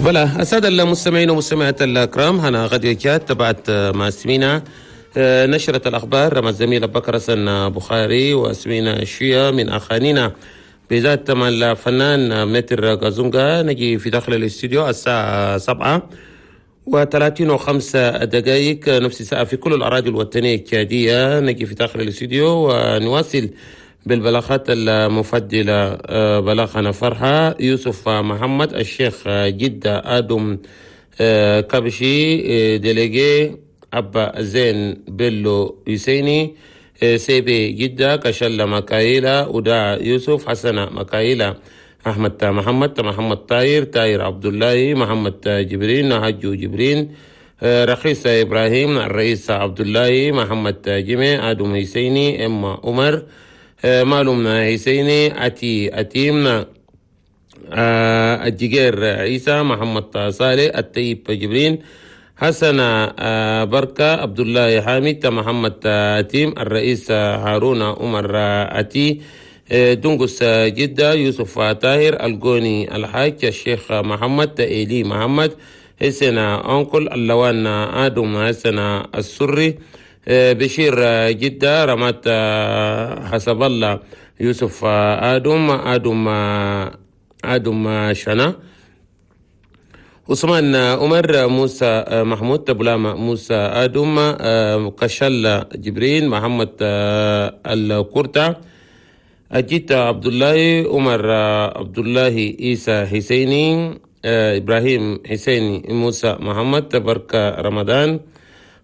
بلا السادة المستمعين والمستمعات الأكرام، هنا غديو جات تبعت مع سمينا نشرة الأخبار مع الزميل بكر حسن بخاري، وسمينا شوية من أخانينا بذات مع الفنان متر غازونغا. نجي في داخل الاستوديو الساعة 7:35، نفس الساعة في كل الأراضي الوطنية التشادية. نجي في داخل الاستوديو ونواصل بالبلاغات المفضلة. بلاغنا فرحة يوسف محمد الشيخ جدة آدم كبشي délégué أبا زين بيلو يسيني سيبي جدة كشلة مكايلة وداع يوسف حسن مكايلة أحمد محمد محمد طاير طاير عبد الله محمد جبرين هجو جبرين رخيص إبراهيم الرئيس عبد الله محمد جمع آدم حسيني إما عمر مالوم حسيني أتي أتيم الجير عيسى محمد صالح الطيب جبرين حسن بركة عبد الله حامد محمد أتيم الرئيس هارون عمر أتي دنقس جدة يوسف طاهر القوني الحاج الشيخ محمد إيلي محمد حسن أنكل اللوان آدم حسن السري بشير جدة رمات حسب الله يوسف آدم آدم آدم شنا عثمان عمر موسى محمود بلاما موسى آدم كشل جبرين محمد الكرتة أجيت عبد الله عمر عبد الله عيسى حسيني إبراهيم حسيني موسى محمد بركة رمضان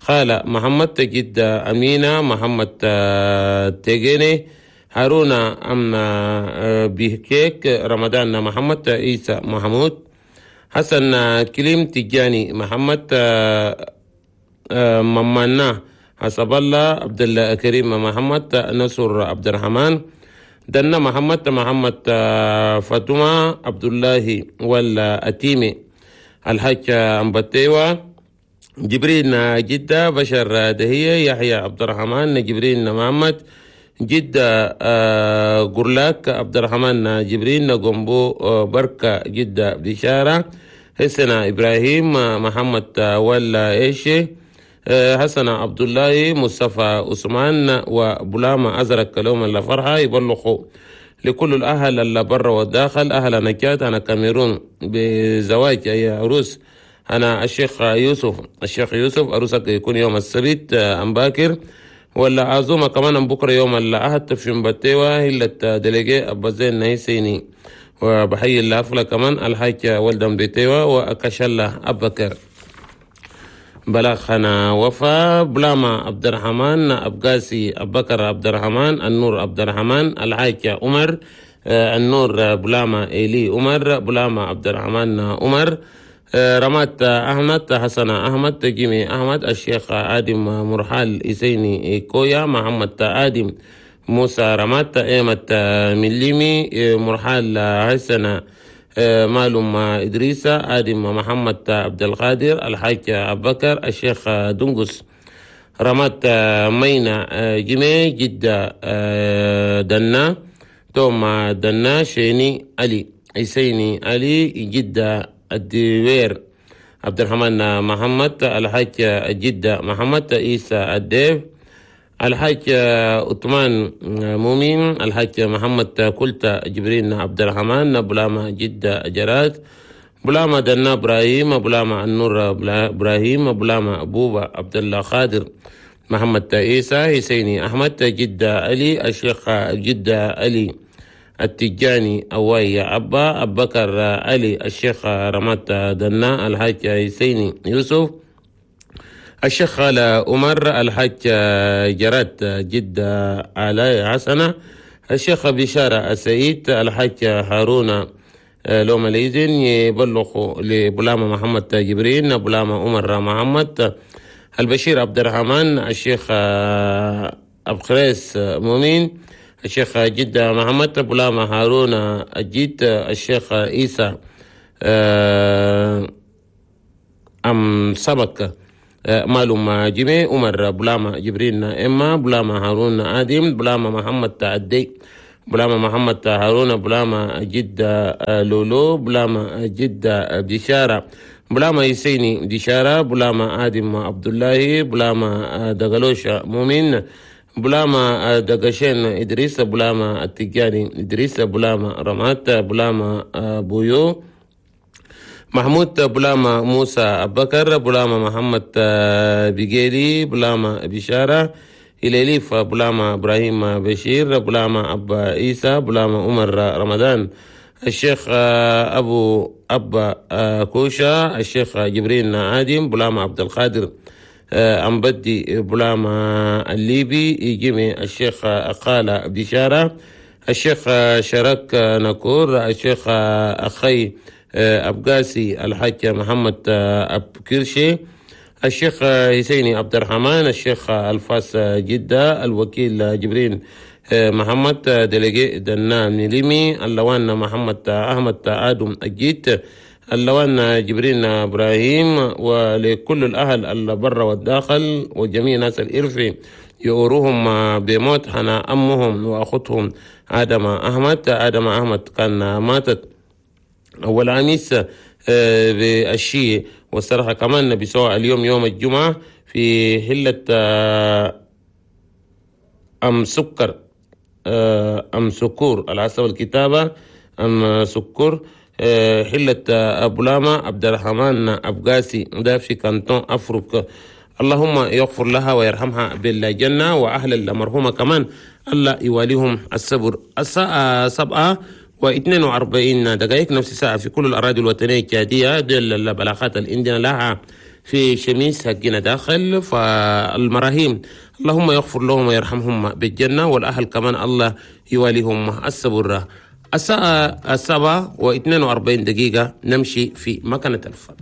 خالة محمد جدة أمينة محمد تيجيني هارون أمنا بيكيك رمضان محمد عيسى محمود حسن كليم تجاني محمد ممانا حسب الله عبد الله كريم محمد نصر عبد الرحمن دنا محمد محمد فاطمة عبد الله ولا أتيمي الحاج أمبتيوة جبرين جدة بشر دهية يحيى عبد الرحمن جبرين محمد جدة قرلاك عبد الرحمن جبرين قنبو بركة جدة بشارة حسن إبراهيم محمد ولا إيشي حسن عبد الله مصطفى عثمان وبلامة أزرق لهم اللي فرحة يبلغوا لكل الأهل اللي برا والداخل أهل نجات أنا كاميرون بزواج أي عروس أنا الشيخ يوسف الشيخ يوسف عروسك يكون يوم السبت أم باكر ولا عزومة كمان بكرة يوم الأحد في مبتيوة هلة دليجي أبا زين نيسيني وبحيي الأفلة كمان الحاج ولدن بتيوة وأكشلة أبكر بلاخنا وفا بلاما عبد الرحمن أبقاسي أبكر عبد الرحمن النور عبد الرحمن الحاج عمر النور بلاما إيلي عمر بلاما عبد الرحمن عمر رمات أحمد حسن أحمد جيمي أحمد الشيخ آدم مرحال إسيني كويا محمد آدم موسى رمات إيمة مليمي مرحال حسن مالوم إدريس آدم محمد عبد القادر الحاج أبكر الشيخ دنقس رمات مينا جيمي جدة دنا توما دنا شيني علي حسيني علي جدة الدوير عبد الرحمن محمد الحاج جدة محمد عيسى الديف الحاج عثمان مؤمن الحاج محمد كلتا جبرين عبد الرحمن بلاما جدة جرات بلاما دنا ابراهيم بلاما النور ابراهيم بلاما بوبا عبد الله خادر محمد عيسى حسيني احمد جدة علي الشيخ جدة علي التجاني أواي أبا أبكر علي الشيخ رمات دنا الحاج حسيني يوسف الشيخ خالة عمر الحاج جرات جدة علي حسنة الشيخ بشارة السعيد الحاج هارون لوم الإذن يبلغ لبلامة محمد جبرين بلامة عمر محمد البشير عبد الرحمن الشيخ أبخريس مؤمن الشيخ جدة محمد بلامة هارون الجيت الشيخ عيسى أم سبك مالوم جيمي عمر بلامة جبرين إما بلامة هارون آدم بلامة محمد تعدي بلاما محمد هارون، بلاما جدة لولو، بلاما جدة بشارة، بلاما يسيني بشارة، بلاما آدم عبد الله، بلاما دقلوش مؤمن، بلاما دقشين إدريس، بلاما التجاني إدريس، بلاما رمات، بلاما بويو محمود، بلاما موسى أبكر، بلاما محمد بيجيلي، بلاما بشارة إليليف، بلاما إبراهيم بشير، بلاما أبا عيسى، بلاما عمر رمضان، الشيخ أبو أبا كوشا، الشيخ جبرين عادم، بلاما عبد القادر أمبدي، بلاما الليبي جيمي، الشيخ أقالة بشارة، الشيخ شرك نكور، الشيخ أخي أبقاسي، الحاج محمد أبكرشي، الشيخ حسيني عبد الرحمن، الشيخ الفاس جدة، الوكيل جبرين محمد دلقي دنا نليمي، اللوان محمد أحمد آدم الجيت، اللوان جبرين إبراهيم، ولكل الأهل اللي برا والداخل وجميع ناس الإرفي يؤروهم بموت حنا أمهم وأختهم آدم أحمد. آدم أحمد كان ماتت أول عميس بالشيء، والصراحة كمان بسواء اليوم يوم الجمعة في حلة أم سكر، أم سكور على حسب الكتابة، أم سكر، حلة أبو لاما عبد الرحمن أبقاسي، ده في كانتون أفريقيا. اللهم يغفر لها ويرحمها بالجنة، وأهل المرحومة كمان الله يواليهم الصبر. الساعة 7:42 نفس الساعة في كل الأراضي الوطنية التشادية. ديل البلاغات الإندينا لها في شميس حقنا داخل. فالمراهيم اللهم يغفر لهم ويرحمهم بالجنة، والأهل كمان الله يواليهم الصبر. الساعة 7:42 نمشي في مكنة الفن.